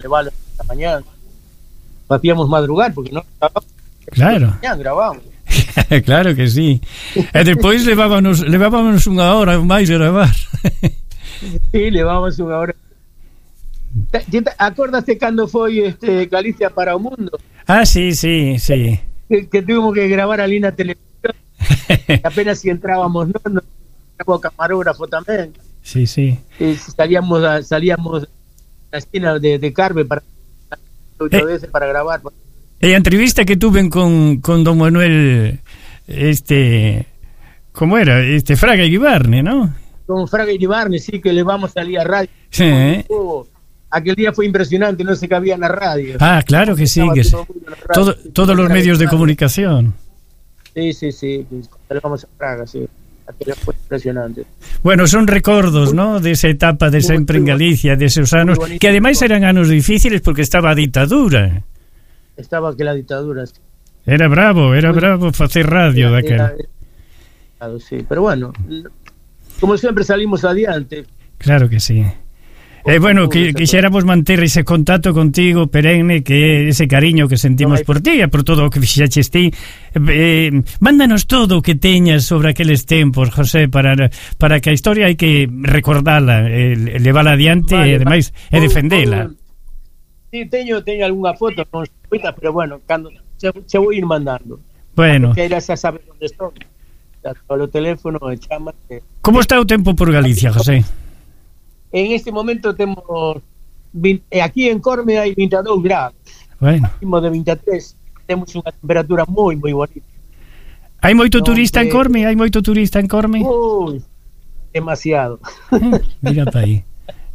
levarlo esta mañana. Facíamos madrugar porque non grabamos. Claro. Grabamos. Claro que sí. E despois levábamos unha hora máis a gravar. Sí, levábamos unha hora. Acórdate cando foi Galicia para o mundo? Ah, sí. Que tuvimos que gravar ali na televisión. Apenas si entrábamos, no o camarógrafo tamén. Sí. Salíamos da esquina de Carve para gravar. E a entrevista que tuven con don Manuel ¿cómo era? Fraga Iribarne, ¿no? Con Fraga Iribarne, sí, que levamos ali a radio. Sí. Aquel día fue impresionante, no se cabía en la radio. Ah, claro que sí, que todos los medios de comunicación. Sí, levamos a Fraga, sí. Aquel fue impresionante. Bueno, son recordos, ¿no? De esa etapa de sempre en Galicia, de esos anos, que ademais eran anos difíciles porque estaba a ditadura. Estaba aquela ditadura, sí. Era bravo facer radio daquela. Sí, pero bueno, como sempre salimos adiante. Claro que sí. Bueno, quixéramos manter ese contacto contigo perenne, que ese cariño que sentimos por ti e por todo o que fixaches ti. Mándanos todo o que teñas sobre aqueles tempos, José, para que a historia hai que recordala, levala adiante e ademais defendela. Sí, teño algunha foto con moitas, pero bueno, cando se vou ir mandando. Bueno. Que ela xa sabe onde estou. Polo teléfono e chámate. Como está o tempo por Galicia, José? En este momento temos aquí en Corme hai 22 grados. Bueno. Máximo de 23. Temos unha temperatura moi bonita. Hai moito turista en Corme? Ui, demasiado. Mira pa aí.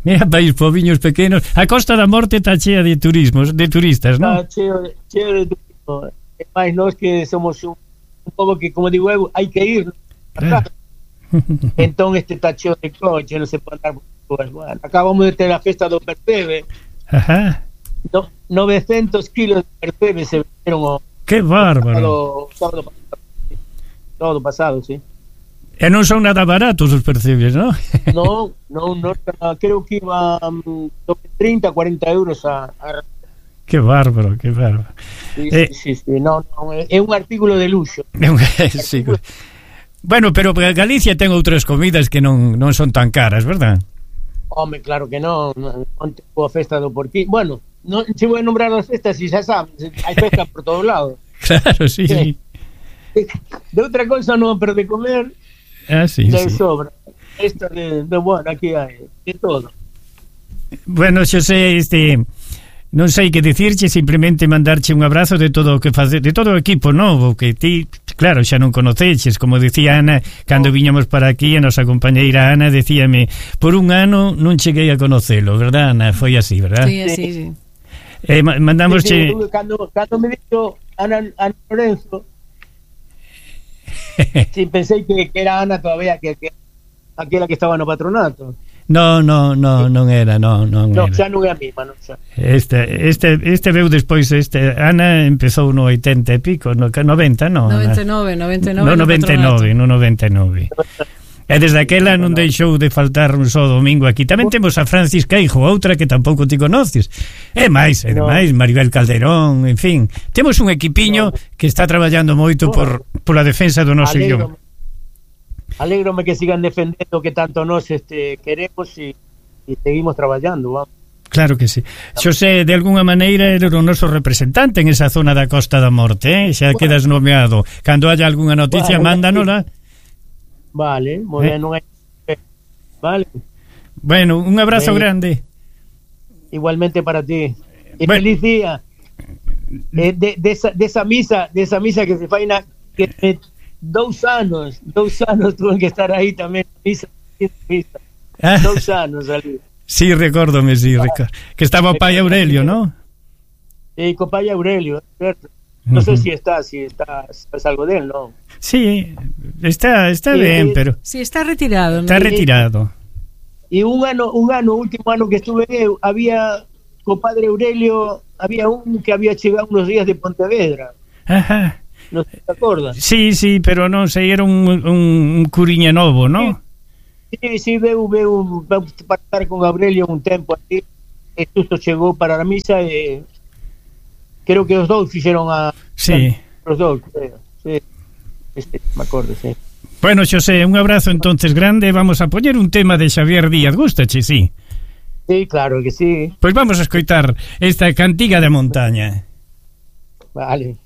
Mira país, poviños pequenos. A Costa da Morte está chea de turistas, non? Está cheo de turismo. É máis nós que somos un pobo que, como digo eu, hai que ir. Claro. Entón está cheo de coche, non se pode andar. Pues bueno, acabamos de ter a festa do percebe. Ajá. 900 kilos de percebe se vendieron. Que bárbaro. Todo pasado, sí. E non son nada baratos os percebes, ¿no? No, creo que iba 30, 40 euros a... Que bárbaro. Sí, no, é un artículo de luxo. Sí. Bueno, pero Galicia ten outras comidas que non son tan caras, verdad? Home, claro que non tengo a festa do porquí. Bueno, non se vou a nombrar as festas e xa sabes, hai festas por todos lados. Claro, sí. De outra cosa non, pero de comer sí. Sobra. Esta de bueno, aquí hai de todo. Bueno, Xosé, non sei que dicirche, simplemente mandarche un abrazo de todo o que face, de todo o equipo novo que ti, claro, xa non conoceches, como dicía Ana cando viñamos para aquí, a nosa compañeira Ana decíame, por un ano non cheguei a conocelo, verdad, Ana? Foi así, verdad? Sí, así, sí. Mandamosche... Cando me dixo Ana Lorenzo, sí, pensei que era Ana todavía, que aquela que estaba no patronato. Non era, non era. Xa non é a mesma, non xa. Este veu despois, Ana empezou no 80 e pico, no 90, non? 99. No 99. E desde aquela non deixou de faltar un só domingo aquí. Tamén temos a Francis Queijo, outra que tampouco ti conoces. E máis, Maribel Calderón, en fin. Temos un equipiño que está traballando moito por a defensa do noso idioma. Alégrome que sigan defendendo que tanto nos queremos e seguimos traballando, vamos. Claro que sí. Xosé, de alguna maneira era o noso representante en esa zona da Costa da Morte, xa quedas nomeado. Cando haya algunha noticia, mándanosla. Vale, moi ben, non hai... Vale. Bueno, un abrazo grande. Igualmente para ti. E feliz día. De esa misa que se fai que 2 anos tuve que estar aí tamén misa. 2 anos ali. Sí, recórdome, que estaba o pai Aurelio, ¿no? Sí, co pai Aurelio, certo. Non sei se está algo del, non? Sí, está ben, pero... Sí, está retirado. Está retirado. E un último ano que estuve eu, había co padre Aurelio, había un que había chegado unos días de Pontevedra. Ajá. Non te acordas? Sí, pero non sei, era un curiña novo, non? Sí, veu para estar con Aurelio un tempo aquí. Xusto chegou para a misa e creo que os dous fixeron sí. Os dous, sí. Me acordo, sí. Bueno, Xosé, un abrazo entonces grande. Vamos a poñer un tema de Xavier Díaz. Gústache, sí? Sí, claro que sí. Pois vamos a escoitar esta cantiga de montaña. Vale.